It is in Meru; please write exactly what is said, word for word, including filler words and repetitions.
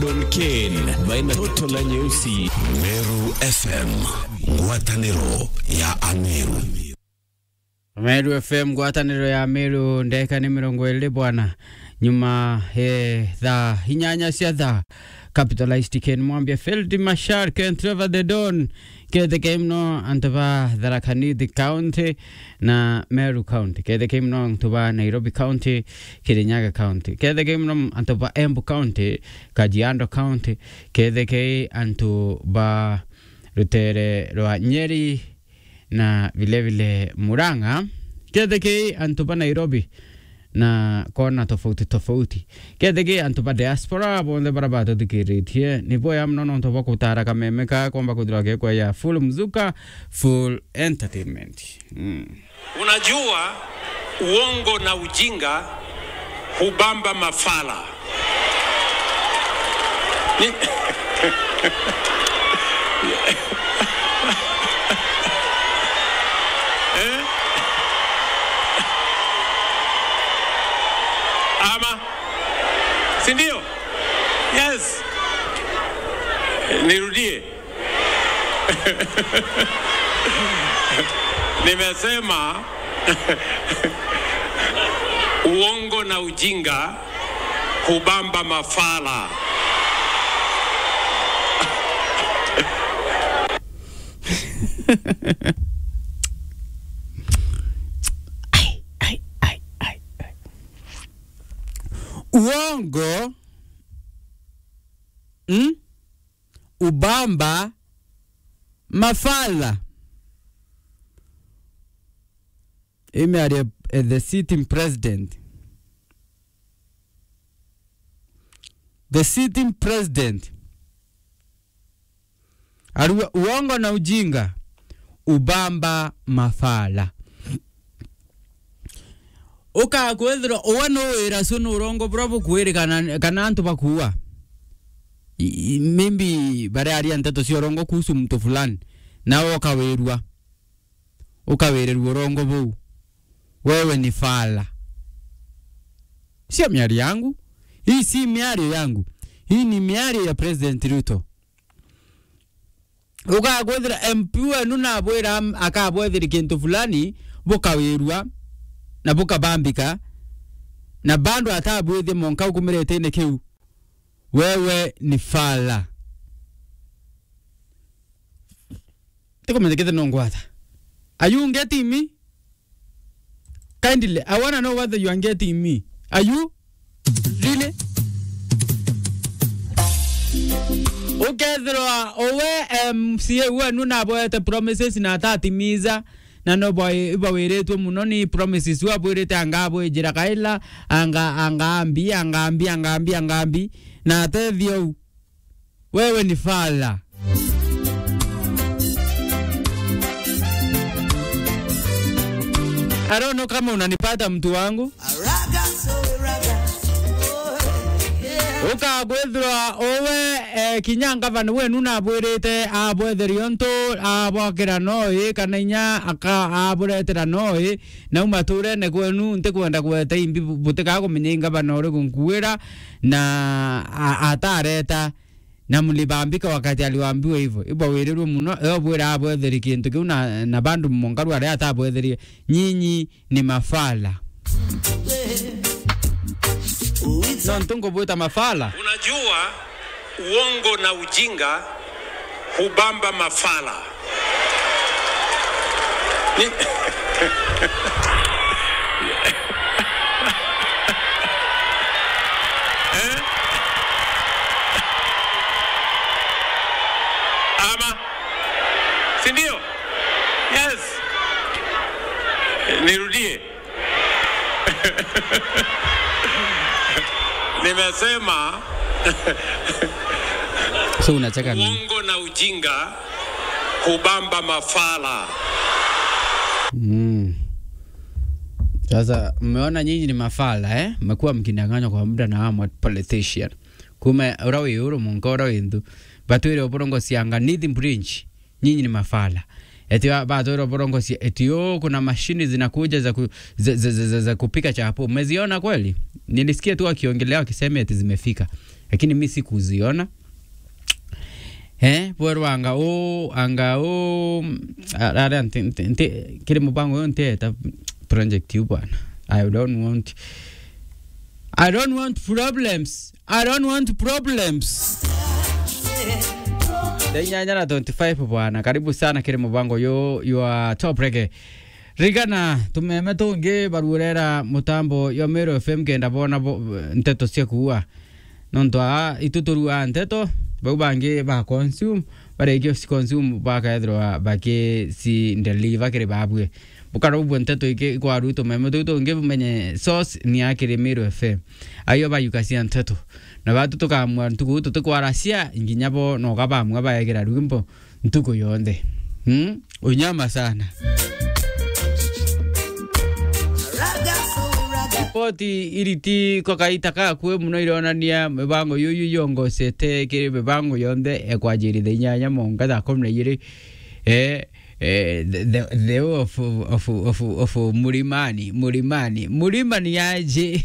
Don Kane baina toto la nyeusi. Meru F M, ngwataniro ya Ameru. Meru F M, ngwataniro ya Meru, ndeka ni mirongo iri bwana. Nyuma, eh, thaa inyanya cia thaa. Capitalized Ken Mwambia, Field Marshal Ken Trevor the Don. Kethekei muno antu ba Tharaka Nithi County na Meru County. Kethekei muno antu ba Nairobi County, Kirinyaga County. Kethekei muno antu ba Embu County, Kajiado County. Kethekei antu ba rutere rwa Nyeri na vile vile Murang'a. Kethekei antu ba Nairobi na kona tofauti tofauti. Kethekei antu ba diaspora bonthe bara batuthikiritie, ni boya muno nontu bwa kutara kameme ka komba kwithirwa gekwa ya full mzuka, full entertainment. Mm. Unajua, uongo na ujinga hubamba mafala. Ni- Eh? Ama? Si ndio? Yes. Nirudie. Nimesema uongo na ujinga hubamba mafala. Ai, ai, ai, ai, ai. Uongo, mm? Ubamba mafala. Ii miario ya the sitting president. The sitting president. Arua, uongo na ujinga ubamba mafala. Ukakwithirwa uwe nuwira cu ni urongo buria bukwirikana kana antu bakuua. I-, i-, maybe baria aria nteto cia urongo kuhusu mtu fulani, nawe ukawirua. Ukawirirua urongo buu. Wewe ni fala. Sio miario yangu. Hii si miario yangu. Hii ni miario ya President Ruto. Ugakwithira M P wenu nabwira am-, akabwethiri kintu fulani, bukawirua, na bukabambika, na bado atabwithie monka ukumiretene kiu. Wewe ni fala. Tikumenya kithira nungwata. Are you getting me? Kindly, I wanna know whether you are getting me. Are you? Really? Ukethirwa uwe M C A wenu naboete promises na atatimiza, na no bwa-, ibawiritwe muno ni promises iu abwirite anga abwijira kaila, anga, anga ambi, anga ambi, anga ambi, anga ambi, na atethia u. Wewe ni fala. I don't know kama unanipata, mtu wangu. Ukakwithirwa uwe, eh, kinya ngavana wenu nabwirite abwetheria untu abwakira noi, kana inya aka-, aburetera noi, nau maturene kwenu, ntikwenda kugweta imbi bu-, butikaa kumenya i ngavana uriku nkuwira, na a-, atareta. Na mlibambika wakati aliwaambiwa hivyo. Ibawirirwe muno, e obwira abwetheri kintu kiu na, na bandu munkaru aria atabwetherie. Nyinyi ni mafala. Nontu ngubwita mafala. Unajua, uongo na ujinga hubamba mafala. Ni- Eh? Ama? Si ndio? Yes. Nirudie. Nimesema So unacheka nini? Uongo na ujinga hubamba mafala. Mm. Sasa mmeona nyinyi ni mafala, eh? Mmekuwa mkidanganywa kwa muda na hawa politician. Kuma ura wi uru munka ura wi nthu. Batwire uburongo cianga nithi bridge. Nyinyi ni mafala. Eti ba-, batwire uburongo cia, eti, "Oh, kuna mashini zinakuja za ku-, za, za, za, za, za kupika chapo." Mmeziona kweli? Nilisikia tu wakiongelea wakisema eti zimefika. lakini mi sikuziona. Eh, bwerwa anga u, anga u, a-, ara nti, nti, nti, kiri mubango uyu ntieta project yu bwana. I don't want, I don't want problems. I don't want problems. Thaa inyanya na twenty-five bwana, karibu sana kiri mubango yu, your top reggae. Rigana, tumeme tungi baruurera mutambo jwa Meru F M kenda boona bo-, nteto cia kuua. Nontu aa, itu turuaa nteto, bau bangi ba consume, barikia ci consume, bakethirwa bakicindeliver kiri babue. Bukara ubua nteto iki ikwaru tumeme tuu tungi bumenye source ni ya kiri Meru F M. Ayo bayukacia nteto. Na batu tukamua ntuku tutikwaracia, nginya bo noga bamua baegira rwimbo ntuku yonthe. Hmm? Unyama sana. Ripoti iriti kwa kaita kakue muno ironania mibango yuyu yongocete kiri mibango yonthe ekwanjirithia inyanya monga thaa kumi na igiri. Eh, eh, the, the, the of, of, of, of Murimani, Murimani, Murimani aje.